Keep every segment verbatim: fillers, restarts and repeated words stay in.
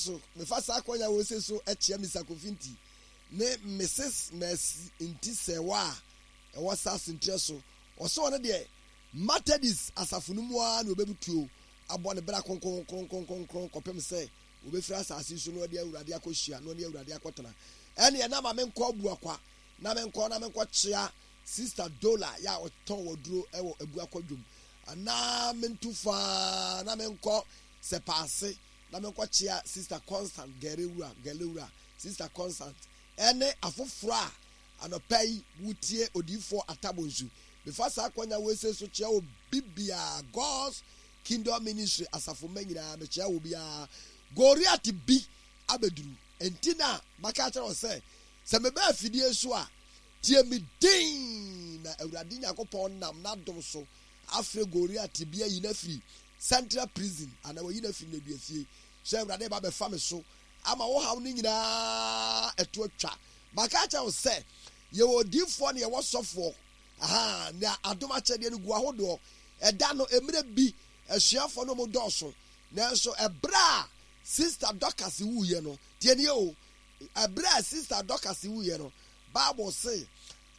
So mefa saa akɔnya wɔ se so kyea Mister Kofi Nti ne Missus Mercy Nti Sɛwa a ɛwɔ saa sentrɛ so. Ɔsɛ ɔno deɛ Methodist asafo no mu ara na ɔbɛbutuo abɔ ne bra kronkron kronkron kronkron kɔpem sɛ wɔbɛfiri asase so na ɔde Awurade akɔhyia na ɔne Awurade akɔtena. Ɛneɛ na ma menkɔ Abuakwa na menkɔ na menkɔkyea Sister Dola yɛ a ɔtɔn waduro wɔ Abuakwa dwom, anaa mentu faa na menkɔ Sɛpaase na menkɔkyea Sister Constant Gɛrewura Gɛlewura Sister Constant ɛne afoforɔ a anɔpa yi wotie Odiyifoɔ Atabonsu. Mefa saa akwanya wei sei so kyea obi biara, God's Kingdom Ministry asafo mma nyinaa, mekyea wɔ biara. Goriat bi abɛduru. Enti na maka akyerɛ wo sɛ, sɛ meba afidie so a, tie me din, na Awurade Nyankopɔn nam n'adom so afrɛ Goriat bi ayi no afiri Central Prison, anaa wayi no afiri nneduafie, sɛ Awurade ba bɛfa me so ama wo haw no nyinaa ɛto atwa. Maka akyerɛ wo sɛ, yɛwɔ odiyifoɔ na yɛwɔ sɔfoɔ. Aha, na adom akyɛdeɛ no gu ahodoɔ. Ɛda no, mmerɛ bi, asuafoɔ no mu dɔɔso. Nanso ɛberɛ a Sister Dorcas wuiɛ no, tie nie o, ɛberɛ a Sister Dorcas wuiɛ no, Bible se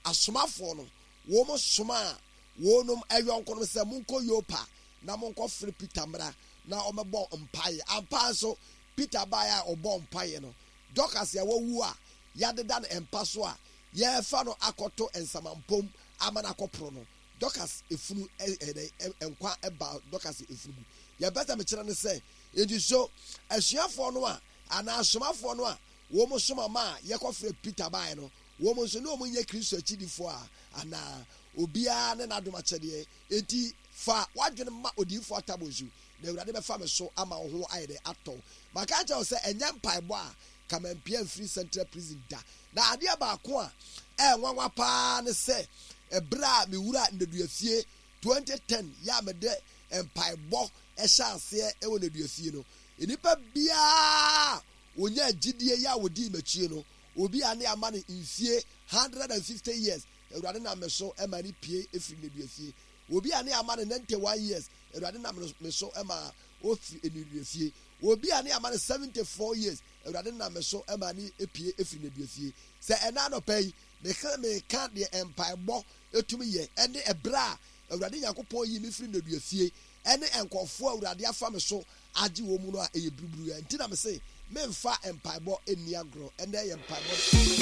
asomafoɔ no, wɔn somaa wɔnom ayɔnkonom sɛ, monkɔ Yopa na monkɔfrɛ Peter mmra na ɔmmɛbɔ mpaeɛ. Ampa nso, Peter baeɛ a ɔbɔɔ mpaeɛ no, Dorcas a wawu a yɛadeda no mpa so a yɛrefa no akɔto nsamampom ama no akɔporo no, Dorcas efunu ɛ ɛ nkwa baa Dorcas efunu mu. Deɛ mpɛ sɛ mekyerɛ ne sɛ, enti so asuafoɔ no a anaa asomafoɔ no a wɔn soma maa yɛkɔfrɛ Peter baeɛ no, wɔn nso ne wɔn nyɛ Kristo akyidifoɔ a anaa? Obiara ne n'adom akyɛdeɛ. Enti fa w'adwene ma Odiyifoɔ Atabonsu, na Awurade bɛfa me so ama wo ho ayɛ dɛ atɔ wo. Maka akyerɛ wo sɛ ɛnyɛ mpaebɔ a ka mampia mfiri Central Prison da. Na adeɛ baako a ɛyɛ nwanwa paa ne sɛ, ɛberɛ a mewuraa nneduafie twenty ten yɛ a mede mpaebɔ hyɛ aseɛ wɔ nneduafie no, nnipa biara a wɔnyaa gyidie yɛ a wɔdii m'akyie no, obi a ne ama no mfie hundred and fifty years, Awurade nam me so ma ne pie firi nneduafie. Obi a ne ama no ninety one years, Awurade nam me so ma ɔfiri nneduafie. Obi a ne ama no seventy four years, Awurade nam me so ma ne pie firi nneduafie. Sɛ ɛna anɔpa yi, meka meka deɛ mpaebɔ tumi yɛ, ɛne ɛberɛ a Awurade Nyankopɔn yi me firi nneduafie, ɛne nkurɔfoɔ a Awurade afa me so agye wɔn mu no a, ɛyɛ biribiri. Nti na me se, memfa mpaebɔ nni agorɔ. Ɛnɛ yɛ mpaebɔ.